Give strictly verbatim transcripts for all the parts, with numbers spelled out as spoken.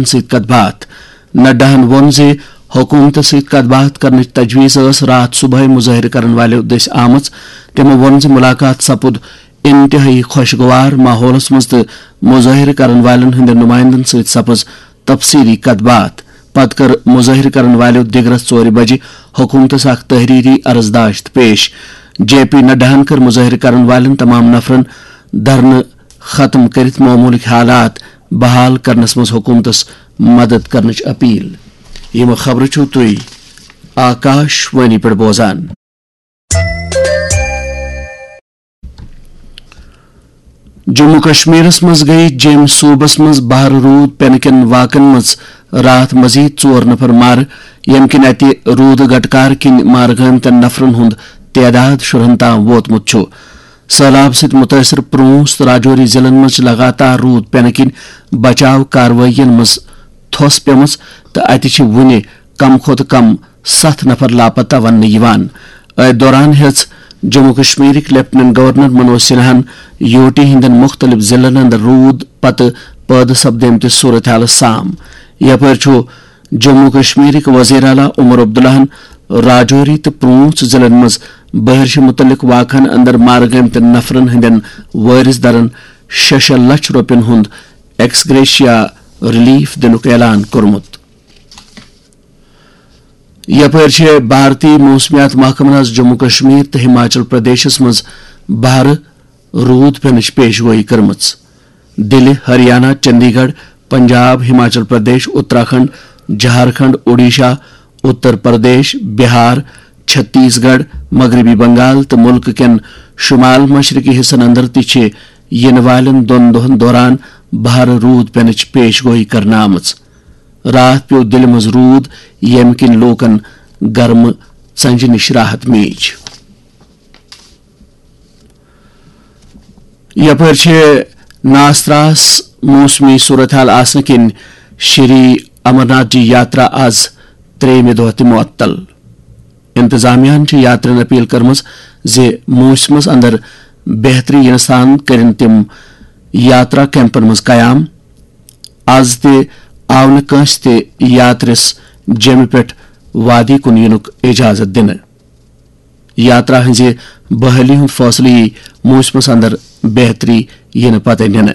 سۭتۍ کتھ باتھ۔ نڈاہن ووٚن زِ حکوٗمتس سۭتۍ کتھ باتھ کرنٕچ تجویز ٲس راتھ صبحٲے مظٲہرٕ کرن والٮ۪و دٔسۍ آمٕژ۔ تِمو ووٚن زِ مُلاقات سپُد انتہٲئی خۄشگوار ماحولس منٛز تہٕ مظٲہرٕ کرن والٮ۪ن ہٕنٛدٮ۪ن نُمایندن سۭتۍ سپٕز تفصیٖلی کتھ باتھ۔ پتہٕ کٔر مظٲہرٕ کرن والٮ۪و دِگرس ژورِ بجہِ حکوٗمتس اکھ تحریری عرضداشت پیش۔ جے پی نڈاہن کٔر مظٲہرٕ کرن والٮ۪ن تمام نفرن دھرنہٕ ختم کٔرِتھ معموٗلٕکۍ حالات بحال کرنس منٛز حکوٗمتس مدد کرنٕچ اپیل۔ یِم خبرٕ چھِو تُہۍ آکاش وانی پٮ۪ٹھ بوزان۔ جموں کشمیرس منٛز گٔیہِ جیٚمۍ صوبس منٛز بہرٕ روٗد پینہٕ کٮ۪ن واقعن منٛز راتھ مزید ژور نفر مارٕ، ییٚمہِ کِنۍ اتہِ روٗدٕ گٹکار کِنۍ مارٕ گٲمتٮ۪ن نفرن ہُنٛد تعداد شُرہن تام ووتمُت چھُ۔ سٔہلاب سۭتۍ مُتٲثِر پرٛونٛژھ تہٕ راجوری ضِلعن منٛز چھِ لگاتار روٗد پینہٕ کِنۍ بچاو کاروٲیین منٛز تھوٚس پیمٕژ تہٕ اتہِ چھِ وُنہِ کم کھۄتہٕ کم ستھ نفر لاپتہ وننہٕ یِوان۔ أتھۍ دوران ہیٚژ جموں کشمیرٕکۍ لیفٹیننٹ گورنر منوج سنہاہن یوٹی ہٕنٛدٮ۪ن مُختٔلِف ضِلعن اندر روٗد پتہٕ پٲدٕ سپدیمتِس صورتحالس سام۔ یپٲرۍ چھُ جموں کشمیرٕکۍ وزیر اعلیٰ عمر عبداللہن راجوری تہٕ پرٛونٛژھ ضِلعن منٛز بحرشہِ مُتعلق واقعن اندر مارٕ گٲمتٮ۪ن نفرن ہٕنٛدٮ۪ن وٲرِث دارن شےٚ شےٚ لچھ رۄپین ہُنٛد ایکس گریشیا ریلیف دِنُک اعلان کوٚرمُت۔ یپٲرۍ چھِ بھارتی موسمیات محکمن آز جموں کشمیر تہٕ ہماچل پردیشس منٛز بہرٕ روٗد پینٕچ پیش گویی کٔرمٕژ۔ دِلہِ، ہریانہ، چندی گڑھ، پنجاب، ہماچل پردیش، اتراکھنڈ، جھارکھنڈ، اوڈیشہ، اتر پردیش، بہار، چھتیس گڑھ، مغربی بنگال تہٕ مُلکہٕ کٮ۪ن شمال مشرقی حصن اندر تہِ چھِ یِنہٕ والٮ۪ن دۄن دۄہن دوران بہرٕ روٗد پینٕچ پیش گویی کرنہٕ آمٕژ۔ راتھ پیوٚو دِلہِ منٛز روٗد، ییٚمہِ کِنۍ لوٗکَن گرمہٕ ژَنجہِ نِش راحت میج۔ یپٲرۍ چھِ ناس تراس موسمی صورتحال آسنہٕ کِنۍ شری امرناتھ جی یاترا آز ترٛیٚیِمہِ دۄہ تہِ معطل۔ انتظامیہ ہَن چھِ یاترین اپیل کٔرمٕژ زِ موسمس اندر بہتری یِنہٕ سان کٔرِن تِم یاترا کیمپن منٛز قیام۔ از تہِ آو نہٕ کٲنٛسہِ تہِ یاترِس جیمہِ پٮ۪ٹھ وادی کُن یِنُک اجازت دِنہٕ۔ یاترا ہٕنٛزِ بحٲلی ہُنٛد فٲصلہٕ یِیہِ موسمس اندر بہتری یِنہٕ پتہٕ نِنہٕ۔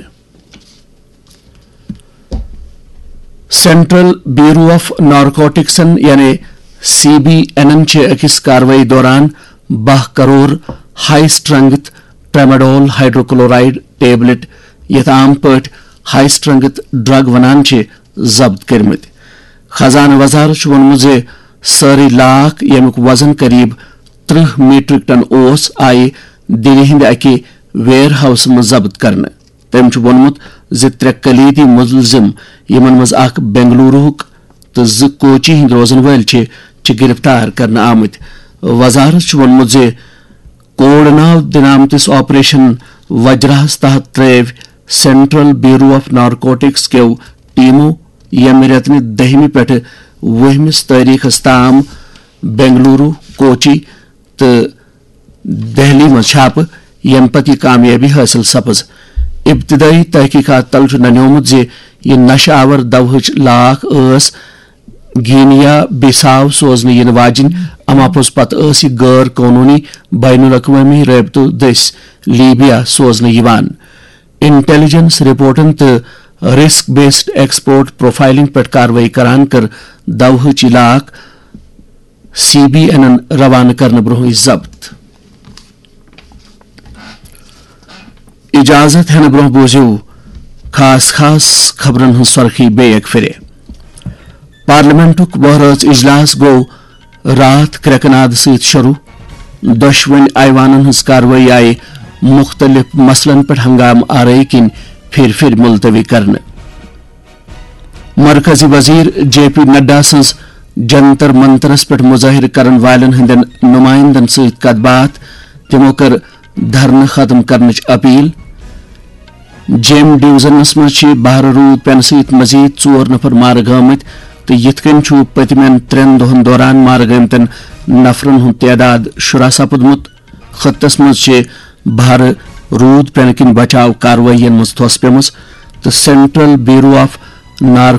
سینٹرل بیورو آف نارکوٹکسن یعنی سی بی اینن چھِ أکِس کاروٲیی دوران باہ کرور ہائی اسٹرنگتھ ٹریماڈول ہائیڈروکلورائیڈ ٹیبلٹ، یَتھ عام پٲٹھۍ ہائی اسٹرنگتھ ڈرگ ونان چھِ، ضبط کٔرمٕتۍ۔ خزانہٕ وزارت چھُ ووٚنمُت زِ سٲرٕے لاکھ، ییٚمیُک وزن قریب ترٕہ میٹرک ٹن اوس، آیہِ دِلہِ ہٕنٛدِ اَکہِ ویئر ہاؤسہٕ منٛز ضبط کرنہٕ۔ تٔمۍ چھُ ووٚنمُت زِ ترٛےٚ کلیدی مُلزِم، یِمن منٛز اکھ بنگلوروہُک تہٕ زٕ کوچی ہٕنٛدۍ روزن وٲلۍ چھِ، چھِ گرفتار کرنہٕ آمٕتۍ۔ وزارت چھُ ووٚنمُت زِ کوڈ ناو دِنہٕ آمتِس آپریشن وجراہس تحت ترٲوۍ سینٹرل بیورو آف نارکوٹکس کیو ٹیمو ییٚمہِ رٮ۪تہٕ دٔہمہِ پٮ۪ٹھٕ وُہمِس تٲریخس تام بنگلورو، کوچی تہٕ دہلی منٛز چھاپہٕ، ییٚمہِ پتہٕ یہِ کامیٲبی حٲصِل سپٕز۔ ابتدٲئی تحقیقات تل چھُ ننیومُت زِ یہِ نشہٕ آور دوہٕچ لاکھ ٲس گینیا بِساو سوزنہٕ یِنہٕ واجِنۍ، اما پوٚز پتہٕ ٲس یہِ غٲر قونوٗنی بین الاقوٲمی رٲبطہٕ دٔسۍ لیبیا سوزنہٕ یِوان۔ انٹیلیجنس رپورٹن تہٕ رسک بیسڈ ایکسپورٹ پروفائلنگ پٮ۪ٹھ کاروٲیی کران کٔر دوہٕچ یہِ لاکھ سی بی اینن روانہٕ کرنہٕ برونٛہٕے ضبط۔ اجازت ہینہٕ برونٛہہ بوٗزِو خاص خاص خبرن ہٕنٛز سۄرخی بیٚیہِ اکہِ پھِرِ۔ پارلیمنٹُک وہرٲژ اجلاس گوٚو راتھ کرٛٮ۪کہٕ ناد سۭتۍ شروٗع۔ دۄشوٕنۍ ایوانن ہٕنٛز کاروٲیی آیہِ مُختٔلِف مسلن پٮ۪ٹھ ہنگامہٕ آرٲیی کِنۍ پھِرِ پھِرِ ملتوی کرنہٕ۔ مرکزی وزیر جے پی نڈا سٕنٛز جنتر منترس پٮ۪ٹھ مظٲہرٕ کرن والٮ۪ن ہٕنٛدٮ۪ن نمائندن سۭتۍ کتھ باتھ، تِمو کٔر دھرنہٕ ختم کرنٕچ اپیل۔ جیٚمۍ ڈویژنس منٛز چھِ بہرٕ روٗد پینہٕ سۭتۍ مزید ژور نفر مارٕ گٲمٕتۍ تہٕ یِتھ کٔنۍ چھُ پٔتمٮ۪ن ترٛٮ۪ن دۄہن دوران مارٕ گٲمتٮ۪ن نفرن ہُنٛد تعداد شُراہ سپُدمُت۔ خطس منٛز چھِ بہرٕ روٗد پینہٕ کِنۍ بچاو کاروٲیین منٛز تھوٚس پیمٕژ تہٕ سینٹرل بیورو آف نارکوٹکس